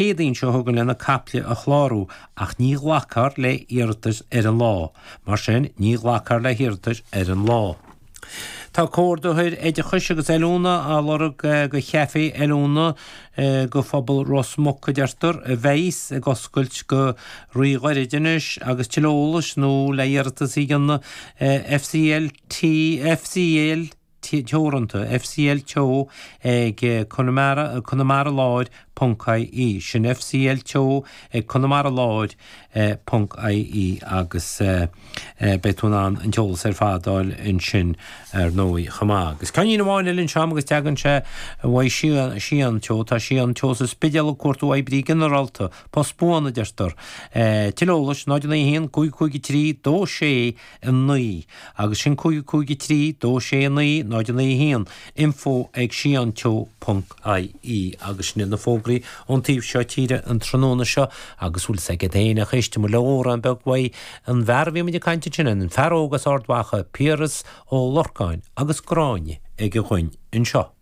Céadaoin seo chugainn lena caiple a chlárú ach ní ghlacfar le hiarratais ar an lá. Mar sin, ní ghlacfar le hiarratais ar an lá. Tá Comhordaitheoir Oideachais agus Oiliúna á lorg do chaifé oiliúna do phobal Ros Muc, a deirtear, a bheas ag oscailt go ríghairid anois agus tuilleadh eolais nó le hiarratas a dhéanamh FCLT FCL Teoranta, FCL Teo ag Conamara, Conamaraláir ponc ie. Sin FCL Teo ag Conamaraláir ponc ie agus beidh tú in ann an t-eolas ar fad a fháil ansin ar ndóigh chomh maith. Agus ceainnín amháin eile anseo agus teagann sé uaidh Síon Teo. Tá Síon Teo sa Spidéal ag cuartú oibrí ginearálta, post buan a deirtear. Tuilleadh eolais 0 9 1 5 5 3 2 6 9, agus sin 5 5 3 2 6 9 0 9 1, info ag sionteo ponc ie, agus sin iad na fógraí ón taobh seo tíre an tráthnóna seo, agus bhfuil 's agat fhéin a éistfidh muid le amhrán beag uaidh an bhfear a bhí muid ag caint ansin, an fear óg as Ard Mhacha, Piaras Ó Lorcáin, agus Gráinne aige dhuinn anseo.